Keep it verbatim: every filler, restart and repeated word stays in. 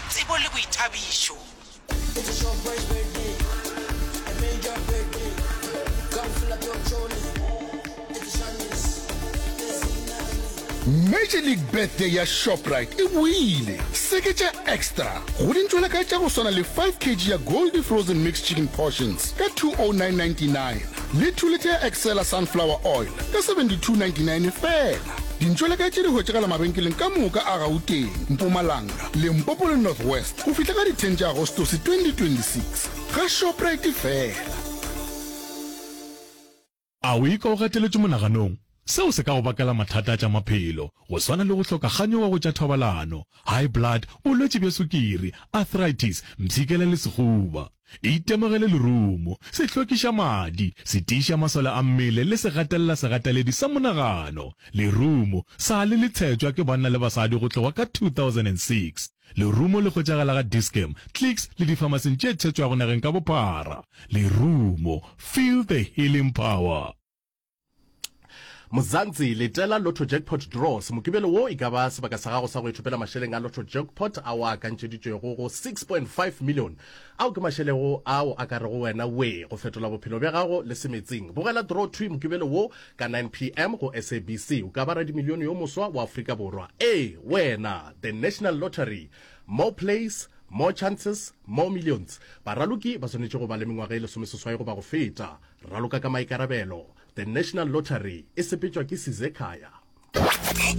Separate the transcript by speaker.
Speaker 1: wa tsebo le boithabišo.
Speaker 2: Major League Birthday ya Shoprite e boile! Seketša extra go dintšwelakae tša go swana le five kg ya Goldie Frozen Mixed Chicken Portions ka two oh nine ninety nine le two litre ya Excella Sunflower Oil ka seventy two ninety nine feela. Dintšwelakae tše di hwetšagala mabenkeleng ka moka a Gauteng, Mpumalanga, Limpopo le North West go fihla ka di ten tša Agostose twenty twenty six. Ga Shoprite feela.
Speaker 3: A o ikwa o gateletšwe monaganong? Seo se ka go bakela mathata a tša maphelo, go swana le go hloka kganyogo go tša thobalano, high blood, bolwetši bja sukiri, arthritis, mpshikela le sehuba. Itemogele lerumo, se hlwekiša madi, se tiiša masole a mmele le se gatelela segateledi sa monagano. Lerumo sa le le tshetšwa ke banna le basadi go tloga ka two thousand and six Lerumo le hwetšagala ga Dis-Chem, Clicks le difamasing tše tshetšwago nageng ka bophara. Lerumo, feel the healing power.
Speaker 4: Mzansi, letela Lotto Jackpot Draws. Mokibelo wo e ka ba sebaka sa gago sa go ithopela mašeleng a Lotto Jackpot ao a akantšeditšwego go six point five million. Ao ke mašelego ao a ka rego wena wee go fetola bophelo bja gago le semetsing. Bogela draw thwi Mokibelo wo ka nine P M go S A B C. O ka ba radimilione yo moswa wa Afrika Borwa. Ee, wena! The National Lottery. More plays, more chances, more millions. Baraloki ba swanetše go ba le mengwaga e lesomeseswai goba go feta. Raloka ka maikarabelo. The National Lottery e sepetšwa ke Sizekhaya.